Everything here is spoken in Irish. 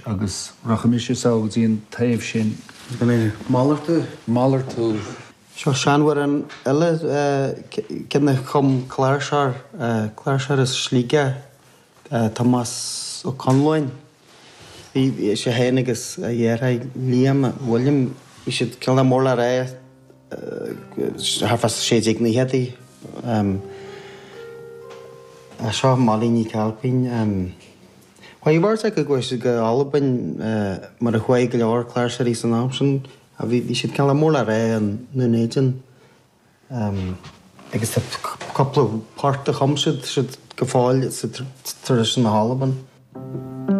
agus rachaidh mise sall go dtí an taobh sin. Gan é malartú. Malartú. Seo seanamhrán eile, ceann a chum cláirseoir, cláirseoir as Sligeach, Tomás Ó Conluain. Bhí sé féin agus a dheartháir Liam, William, bhí siad cineál mór le rá thart fá 1690idí. Seo Molly Ní Chailpín. Chuaigh beirt acu go go Albain mar a chuaigh go leor cláirseoirí san am sin. Bhí siad cineál mór le rá i nDún Éideann. Agus tá cúpla port a chum siad, siad go fóill sa traidisiún na hAlban.